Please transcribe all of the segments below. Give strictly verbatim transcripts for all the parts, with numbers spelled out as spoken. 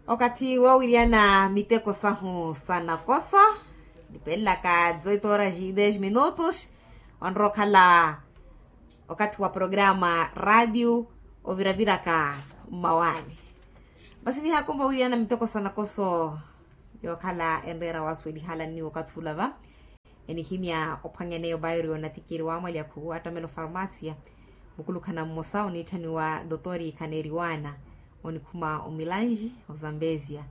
Okathi woowiriyana miteko sahu sa nakoso, nipelelaka dezoito horas e dez minutos. Onrowa okhala okathi wa programa radio oviraviraka mmawaani. Masi nihakumpa owiriyana miteko sa nakoso yookhala enreera wasuwelihala nniwo okathi ula va. Enihimya ophwanyaneya obairo yoonatikiri wa mwalyakhu attamela ofarmasia, mukulukhana mmosa oniitthaniwa dotori khaneriwana, onikhuma omilanji ozambezia.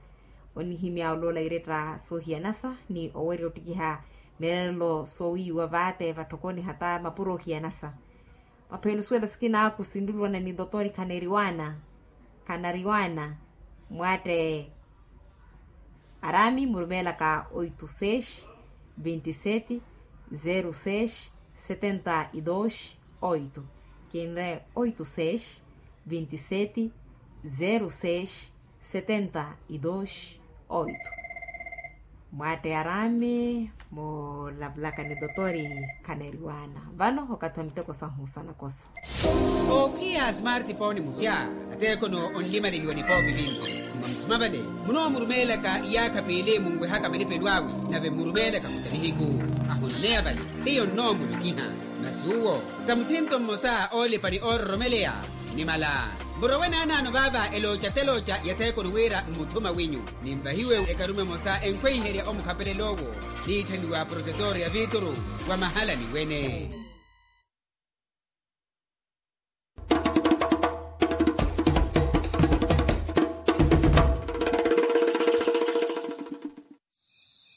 Onihimya oloola iretta soohiyanasa ni owerya ottikiha mireerelo soowiiwa vaate vatthokoni hata mapuro ohiyanasa. Mapheya onusuwela sikina awo kusinluwana ni dotori khaneriwana, khanariwana, mwaatte arami murumeelaka oito seis, vinte e sete, zero seis, setenta e dois, oito. Kinre oito seis, vinte e sete, zero seis, setenta e dois, oito. Mwaatte arami mulavulaka ni dotori khaneriwana. Vano okathi wa miteko sahu sa nakoso. Oophiya smartphone musya, ateekono onlimalihiwa nipoopi vinci. Mwa musuma vale munoomurumeelaka iyaakha piili munwehaka malipelo awe, nave mmurumeelaka kuta nihiku. Ahunaneya vale hiyo nnoomulokiha. Masi uwo ta muthinto mmosa oolipa ni oororomeleya. Nimala murowe naanaano vaava elooca telooca ya theekoni wira mmuthuma winyu. Ninvahiwe ekarume emosa enkhweiherya omukhapelela owo, niitthaniwa protetor ya vituru wa mahalani wene.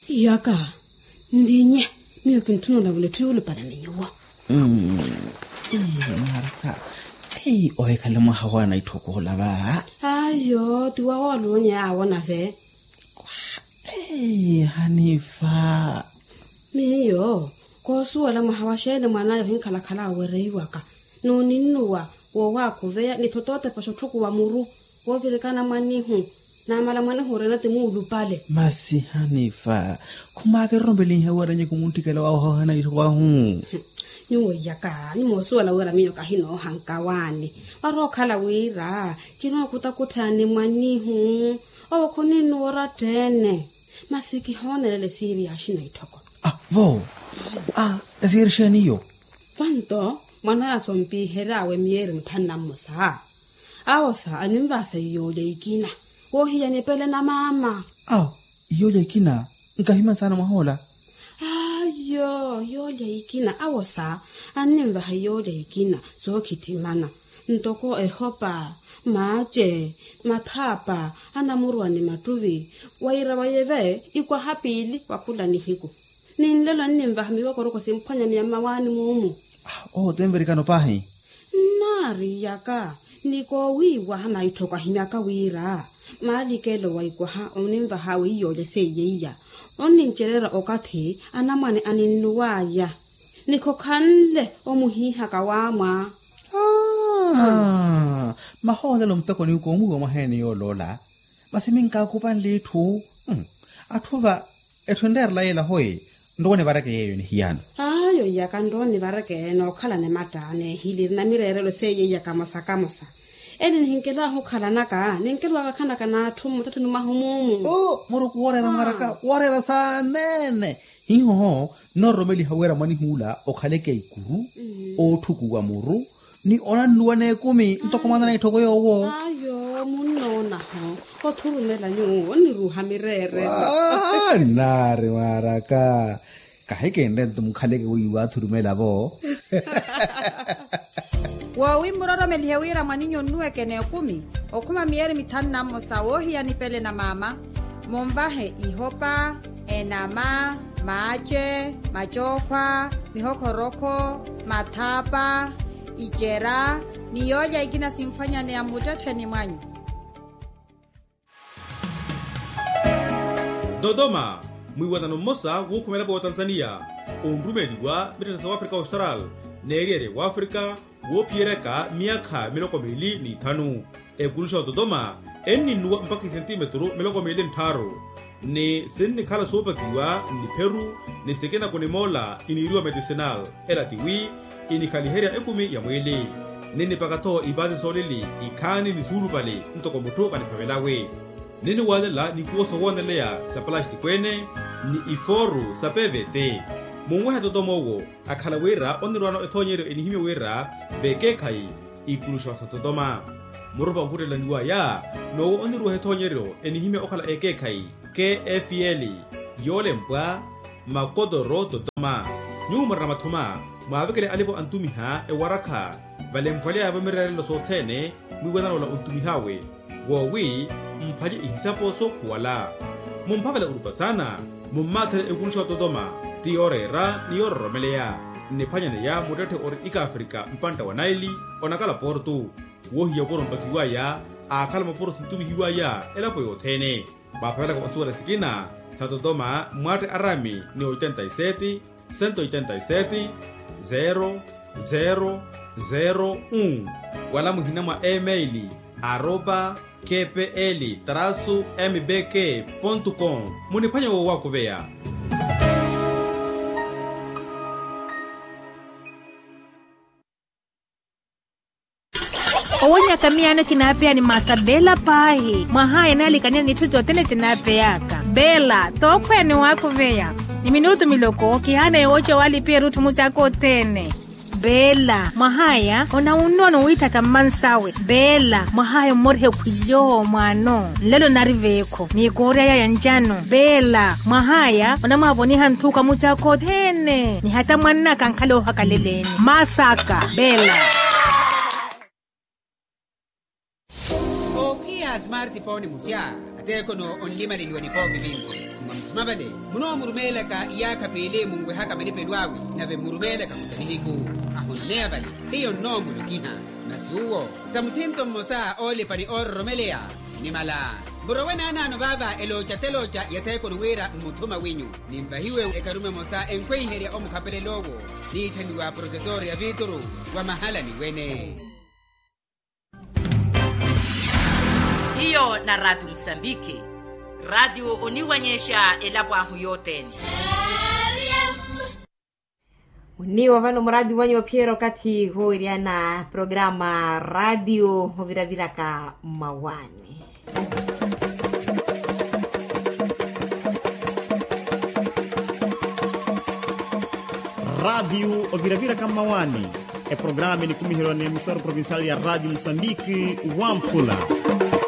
Iyaka nlinye, miyo kintthuna olavula etthu yuulupale ni nyuwo. Mwaraka. Ohikhale mwaha wa naitthoko olava. Ayo ti wawo aloonye awo nave. Hanifa. Miyo koosuwela mwaha wa xeeni mwan'aya ohinkhalakhala awereiwaka n'uninnuwa woowakhuveya ni thotootepa xotthukuwa muru woovirikana mwannihu. Naamala mwanehu orina ti muulupale. Masi hanifa. Khumaakererompelinhe wira nyi kumunttikela wahu ohana itthu wahu. Nyuwo iyaka nyi moosuwela wira miyo kahinoohanka waani. Warookhala wira kinookutakutha ni mwannihu. Owo khuninnuwa oratteene. Masi kihoonelela esiiri ya axina itthoko. Vo. Esiiri xeeni iyo? Vanto mwan'aya sompiheryawe miyeeri mitthanu na mmosa. Awosa aninvaasa iyoolya ikina woohiya nipele na maama. Awo iyoolya ikina? Nkahimani saana mwahoola. Ayo iyoolya ikina awosa anninvaha iyoolya ikina sookhittimana ntoko ehopa, maace, mathaapa, anamurwa ni mattuvi. Wira wayeve ikwaha piili wa khula nihiku. Ni nlelo anninvaha miwokoroko simphwanyaneya mmawaani muumu. Owo ti nvirikano paahi. Nnaari iyaka ni koowiiwaha naitthoko ahimyaka wira maalikelo wa ikwaha oninvaha awe iyoolya seiye iya onnincereera okathi anamwane aninnuw'aya. Ni khokhanle omuhiihaka waamwa. Mahoolela omuteko niwuka omwiiwa mwaheene yooloola. Masi minkaakupanle itthu. Atthu va etthu enreerela yeela hoyi. Nrowa onivareke yeeyo nihiyano. Ayo iyaka nrowa onivareke nookhalana ematta neehiliri na mireerelo seiye iyaka mosa kamosa. Ene nihinkelaahu okhalanaka ninkelowaka akhanaka n'atthu mmuttettheni mwahu muumu. Muruku wooreera mwaraka wooreera saaneene. Hihoho nnoororomeliha wira mwanihuula okhaleke ikuru, ootthukuwa muru ni onannuwa n'ekumi ntoko mwanana itthoko yoowo. Ayo munnoonaho othurumela nyuwo onniruuha mireerelo. Nnaari mwaraka. Kahikinre nto mukhaleke wiiwa athurumela vo. Woowi mmuroromelihe wira mwaninyu onnuweke n'ekumi okhuma miyeeri mithanu na mmosa woohiya nipele na maama. Munvahe ihopa, enama, maace, macookhwa, mihokholokho, mathaapa, icera ni yoolya ikina simphwanyaneya mmuttettheni mwanyu. Dodoma, mwiiwanano mmosa wuukhumela vootanzaniya onrumeeliwa mittetthe sa wafrika austral n'eriyari ya wafrika woophiyeryaka myaakha miloko miili n'ithanu. Ekuluxa ya dodoma enninnuwa mpakha isentimetru miloko miili n'tthaaru ni sinnikhala soopakiwa n'ipheru ni sikina kunimoola iniiriwa medicinal. Ela tiwi inikhaliherya ekumi ya mwiili ninnipaka-tho ipaasi soolili ikhaani ni suulupale ntoko mutthu kanikhavelawe. Niniwalela nikuwo sowooneleya sa palastiko ene ni ifooru sa pvt. Munwehe totoma owo akhala wira onirwaano ethoonyeryo enihimya wira vekeekhayi ikulusha sa totoma. Murupa ohuttela niwaya n'owo onirweha ethoonyeryo enihimya okhala ekeekhayi kfl, yoolempwa makotoro totoma. Nyuwo murina mathuma mwaavekele alipo antumiha ewarakha valemphwaleya yavo mireerelo sothene mwiiwanana ola ontumih'awe woowi muphace ihisapo sookhuwala. Mumphavela orupa saana mummaathela ekulusha wa totoma ti yooreera ni yoororomeleya. Nniphwanyaneya muttetthe ori ikafrika mpantta wa naili onakala portu. Wohiya opuro mpakiwaya aakhala mapuro sintumihiwaya elapo yothene. Mwaaphavelaka onsuwela sikina sa totoma mwatte arami ni oitenta y sete, sento oitenta y sete, zero zero zero un. Wala muhina mwa emaili aropa kpl trasu mbk pontu com. Muniphwanye woowakuveya. Owonyaka miyaano kinaapeya ni masa bela paahi mwahaya enaalikaniya n'itthu sothene sinaapeyaka. Bela tookhweya ni waakuveya ni minutu miloko kihaana yooca waalipiya erutthu musi aka othene. Bela mwahaya onawunnono wiithatha mmansawe. Bela mwahaya ommoriha ekhwilyo mwaano nlelo nari veekho ni koorya yaya ncano. Bela mwahaya onamwaavoniha nthuka musi aka othene ni hata mwannaka ankhala oohakaleleni. Masaka bela. Oophiya smartphone musya ateekhono onlimaleliwa nipoopi vinci. Mwa musima vale munoomurumeelaka iyaakha piili munwehaka malipelo awe nave mmurumeelaka muta nihiku. Ahononeya vale hiyo nnoomulokiha. Masi uwo ta muthinto mmosa oolipa ni oororomeleya. Inimala murowe naanaano vaava elooca telooca ya theekono wira mmuthuma wenyu. Ninvahiwe ekarume emosa enkhweiherya omukhapelel'owo niitthaniwa protetor ya vituru wa mahalani wene. Hiyo na raatiyo musambiki. Raatiyo oniwanyexa elapo ahu yothene. Oniiwa vano muraatiyo wanyu ophiyerya okathi wooweryana programa raatiyo oviraviraka mmawaani. Raatiyo oviraviraka mmawaani. Eprograma enikumiheryiwa n'emisoro provincial ya raatiyo musambiki wamphula.